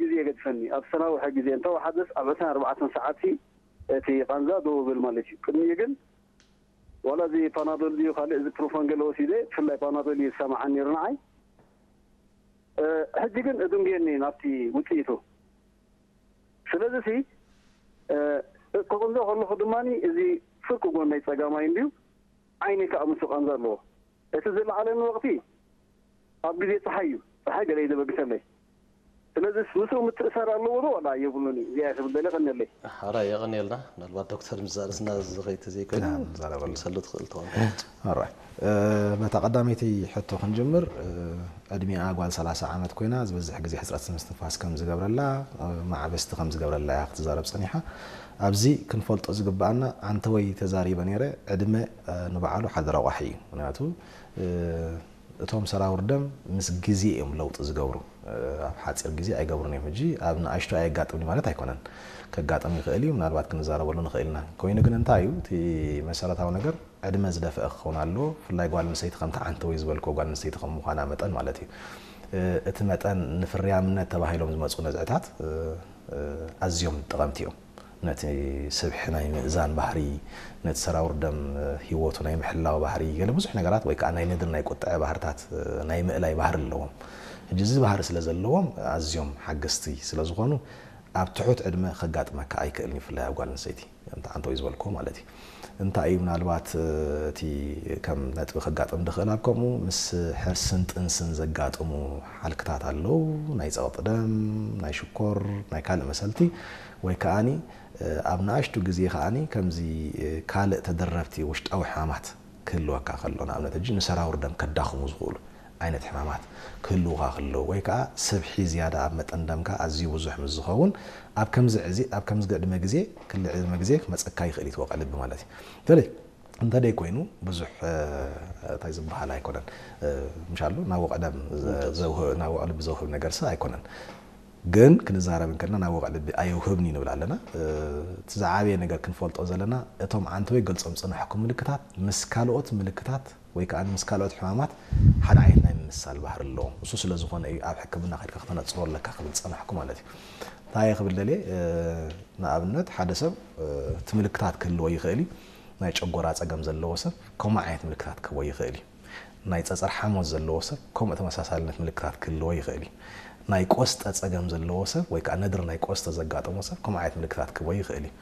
ግዜ የገድፈኒ። ኣብ ዝተናውሐ ግዜ እንተወሓደስ ኣብ ዕስራን ኣርባዕተን ሰዓት እቲ ቃንዛ ደው ይብል ማለት እዩ። ቅድሚኡ ግን ዋላ እዚ ፓናዶል ድዩ ካልእ እዚ ፕሮፋን ገለ ወሲደ፣ ብፍላይ ፓናዶል እዩ ዝሰማዓኒ ነይሩ ንዓይ። ሕጂ ግን እድንጉየኒ ናብቲ ውፅኢቱ። ስለዚ ሲ ክቕንዞ ከለኹ ድማ እዚ ፍርቂ ጎነይ ፀጋማይ እንድዩ ዓይነይ ከዓ ምስ ቃንዛ ኣለዎ። እቲ ዝለዓለኒ ወቕቲ ኣብ ግዜ ፀሓይ እዩ። ፀሓይ ገለ እዩ ዘበግሰለይ። ስለዚ ምስኡ ምትእሳር ኣለዎ ዶ ዋላ የብሉን እዩ? እዚኣ ክብል ደለ ቀንየለይ። ሓራ የቐንየልና። ምናልባት ዶክተር ምዛርዝና ዝኸይድ ተዘይኮይኑ ንዛረበሉ። ትምሰሉ ትኽእል ትኾን። ኦራይት። በታ ቀዳመይቲ ሕቶ ክንጅምር። ዕድሚኣ ጓል ሰላሳ ዓመት ኮይና ዝበዝሕ ግዜ ሕፅረት ምስትንፋስ ከም ዝገብረላ፣ ማዕበስቲ ከም ዝገብረላ እያ ክትዛረብ ፀኒሓ። ኣብዚ ክንፈልጦ ዝግበኣና፣ ኣንተወይ ተዛሪበ ነይረ፣ ዕድመ ንባዕሉ ሓደ ረቋሒ እዩ። ምክንያቱ እቶም ሰራውር ደም ምስ ግዜ እዮም ለውጢ ዝገብሩ። ኣብ ሓፂር ግዜ ኣይገብሩን እዮም። ሕጂ ኣብ ንኣሽቱ ኣየጋጥምን ማለት ኣይኮነን። ከጋጥም ይኽእል እዩ። ምናልባት ክንዛረበሉ ንኽእል ኢና። ኮይኑ ግን እንታይ እዩ እቲ መሰረታዊ ነገር? ዕድመ ዝደፈአ ክኸውን ኣለዎ። ብፍላይ ጓል ኣንስተይቲ ከምቲ ዓንተወይ ዝበልክዎ ጓል ኣንስተይቲ ከም ምዃና መጠን ማለት እዩ። እቲ መጠን ንፍርያምነት ተባሂሎም ዝመፁ ነዝዕታት ኣዝዮም ጠቐምቲ እዮም። ነቲ ስብሒ ናይ ምእዛን ባህሪ፣ ነቲ ሰራውር ደም ሂወቱ ናይ ምሕላው ባህሪ፣ ገለ ብዙሕ ነገራት ወይ ከዓ ናይ ንድሪ ናይ ቁጥዐ ባህርታት ናይ ምእላይ ባህሪ ኣለዎም። ሕጂ እዚ ባህሪ ስለ ዘለዎም ኣዝዮም ሓገዝቲ ስለ ዝኾኑ ኣብ ትሑት ዕድመ ከጋጥመካ ኣይክእልን እዩ፣ ብፍላይ ኣብ ጓል ኣንስተይቲ ከምቲ ዓንተወይ ዝበልክዎ ማለት እዩ። እንታይ እዩ ምናልባት እቲ ከም ነጥቢ ከጋጥም ድኽእል ኣብ ከምኡ ምስ ሕርስን ጥንስን ዘጋጥሙ ሓልክታት ኣለዉ፣ ናይ ጸቕጢ ደም፣ ናይ ሽኮር፣ ናይ ካልእ መሰልቲ ወይ ከኣኒ ኣብ ንኣሽቱ ግዜ ከኣኒ ከምዚ ካልእ ተደረብቲ ውሽጣዊ ሕማማት ክህልወካ ከሎ ንኣብነት ሕጂ ንሰራውር ደም ከዳኽሙ ዝኽእሉ ዓይነት ሕማማት ክህልውኻ ከለዉ ወይ ከዓ ስብሒ ዝያዳ ኣብ መጠን ደምካ ኣዝዩ ብዙሕ ምስ ዝኸውን ኣብ ከምዚ ዕዚ ኣብ ከምዚ ቅድመ ግዜ ክሊ ዕድመ ግዜ ክመፀካ ይኽእል እዩ ትወቕዕ ልቢ ማለት እዩ። በተለይ እንተደይ ኮይኑ ብዙሕ እንታይ ዝበሃል ኣይኮነን። ምሻሉ ናብ ወቕዕ ደም ናብ ወቕዕ ልቢ ዘውህብ ነገር ስ ኣይኮነን። ግን ክንዛረብ እንከልና ናብ ወቕዕ ልቢ ኣየውህብን እዩ ንብል ኣለና። እቲ ዝዓበየ ነገር ክንፈልጦ ዘለና እቶም ዓንተወይ ገልጾም ዝጸናሕኩም ምልክታት ምስ ካልኦት ምልክታት ወይ ከዓ ምስ ካልኦት ሕማማት ሓደ ዓይነት ናይ ምምሳል ባህሪ ኣለዎም። እሱ ስለ ዝኾነ እዩ ኣብ ሕክምና ከድካ ክተነጽሮ ኣለካ ክብል ዝጸናሕኩ ማለት እዩ። እንታይ እየ ክብል ደልየ? ንኣብነት ሓደ ሰብ እቲ ምልክታት ክህልዎ ይኽእል እዩ። ናይ ጨጎራ ጸገም ዘለዎ ሰብ ከምኡ ዓይነት ምልክታት ክህልዎ ይኽእል እዩ። ናይ ጸጸር ሓሞት ዘለዎ ሰብ ከምኡ ተመሳሳልነት ምልክታት ክህልዎ ይኽእል እዩ። ናይ ቆስጠ ጸገም ዘለዎ ሰብ ወይ ከዓ ነድሪ ናይ ቆስጠ ዘጋጠሞ ሰብ ከምኡ ዓይነት ምልክታት ክህልዎ ይኽእል እዩ።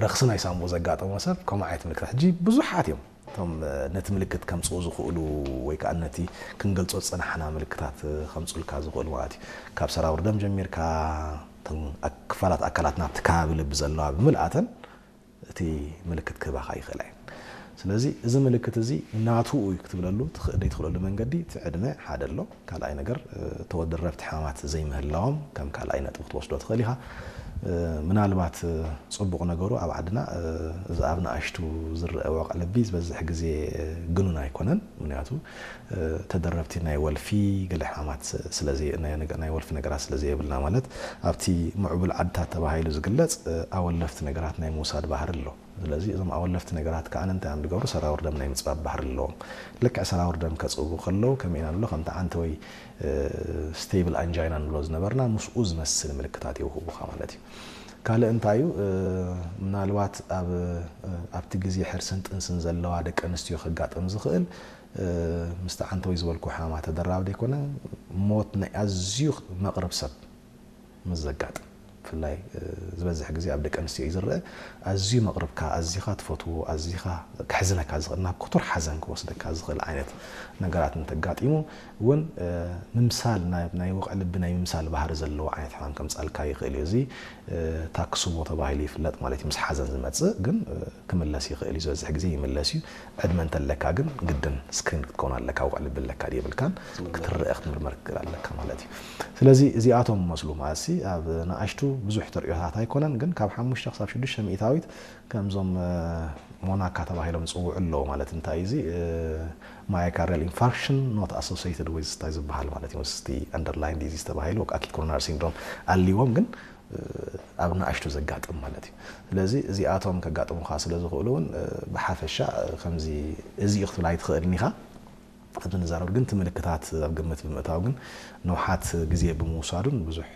ረኽሲ ናይ ሳንቡእ ዘጋጠሞ ሰብ ከምኡ ዓይነት ምልክታት ሕጂ ብዙሓት እዮም። እቶም ነቲ ምልክት ከምፅኡ ዝኽእሉ ወይ ከዓ ነቲ ክንገልፆ ዝፀናሕና ምልክታት ከምፁልካ ዝኽእሉ ማለት እዩ። ካብ ሰራውር ደም ጀሚርካ ክፋላት ኣካላት ናብቲ ከባቢ ልቢ ዘለዋ ብምልኣተን እቲ ምልክት ክህባኻ ይኽእላ እየን። ስለዚ እዚ ምልክት እዚ ናቱ እዩ ክትብለሉ ዘይትኽእለሉ መንገዲ እቲ ዕድመ ሓደ ኣሎ። ካልኣይ ነገር ተወደረብቲ ሕማማት ዘይምህላዎም ከም ካልኣይ ነጥቢ ክትወስዶ ትኽእል ኢኻ። ምናልባት ፅቡቕ ነገሩ ኣብ ዓድና እዚ ኣብ ንኣሽቱ ዝረአ ወቕዒ ልቢ ዝበዝሕ ግዜ ግኑን ኣይኮነን። ምክንያቱ ተደረብቲ ናይ ወልፊ ገለ ሕማማት ናይ ወልፊ ነገራት ስለ ዘየብልና ማለት ኣብቲ ምዕቡል ዓድታት ተባሂሉ ዝግለፅ ኣወለፍቲ ነገራት ናይ ምውሳድ ባህሪ ኣሎ። ስለዚ እዞም ኣወለፍቲ ነገራት ከዓ እንታይ እዮም ዝገብሩ? ሰራውር ደም ናይ ምፅባብ ባህሪ ኣለዎም። ልክዕ ሰራውር ደም ከፅቡ ከለዉ ከመይ ኢና ንብሎ? ከምቲ ዓንተ ወይ ስቴብል ኣንጃይና ንብሎ ዝነበርና ምስኡ ዝመስል ምልክታት የውህቡኻ ማለት እዩ። ካልእ እንታይ እዩ? ምናልባት ኣብ ኣብቲ ግዜ ሕርስን ጥንስን ዘለዋ ደቂ ኣንስትዮ ከጋጥም ዝኽእል ምስቲ ዓንተ ወይ ዝበልኩ ሕማማት ተደራቢ ደይኮነ ሞት ናይ ኣዝዩ መቕርብ ሰብ ምስ ዘጋጥም ብፍላይ ዝበዝሕ ግዜ ኣብ ደቂ ኣንስትዮ እዩ ዝረአ። ኣዝዩ መቕርብካ፣ ኣዚኻ ትፈትዎ፣ ኣዚኻ ከሕዝነካ ዝኽእል፣ ናብ ክቱር ሓዘን ክወስደካ ዝኽእል ዓይነት ነገራት እንተጋጢሙ እውን ምምሳል ናይ ወቕዒ ልቢ ናይ ምምሳል ባህሪ ዘለዎ ዓይነት ሕማም ከምፃልካ ይኽእል እዩ። እዚ ታክስቦ ተባሂሉ ይፍለጥ ማለት እዩ። ምስ ሓዘን ዝመፅእ ግን ክምለስ ይኽእል እዩ። ዝበዝሕ ግዜ ይምለስ እዩ። ዕድመ እንተለካ ግን ግድን ስክሪን ክትከውን ኣለካ። ወቕዒ ልቢ ኣለካ ድዩ የብልካን ክትረአ ክትምርመር ክትክእል ኣለካ ማለት እዩ። ስለዚ እዚኣቶም መስሉ ማለት ሲ ኣብ ንኣሽቱ ብዙሕ ተርእዮታት ኣይኮነን፣ ግን ካብ ሓሙሽተ ክሳብ ሽዱሽተ ሚእታዊት ከምዞም ሞናካ ተባሂሎም ዝፅውዑ ኣለዉ። ማለት እንታይ እዚ myocardial infarction not associated with እንታይ ዝበሃል ማለት እዩ። ምስቲ underlying disease ተባሂሉ acute coronary syndrome ኣልዎም ግን ኣብ ንኣሽቱ ዘጋጥም ማለት እዩ። ስለዚ እዚኣቶም ከጋጥሙኻ ስለ ዝኽእሉ እውን ብሓፈሻ ከምዚ እዚ እዩ ክትብል ኣይትኽእልን ኢኻ። ኣብዚ ንዛረብ ግን እቲ ምልክታት ኣብ ግምት ብምእታው ግን ንውሓት ግዜ ብምውሳዱን ብዙሕ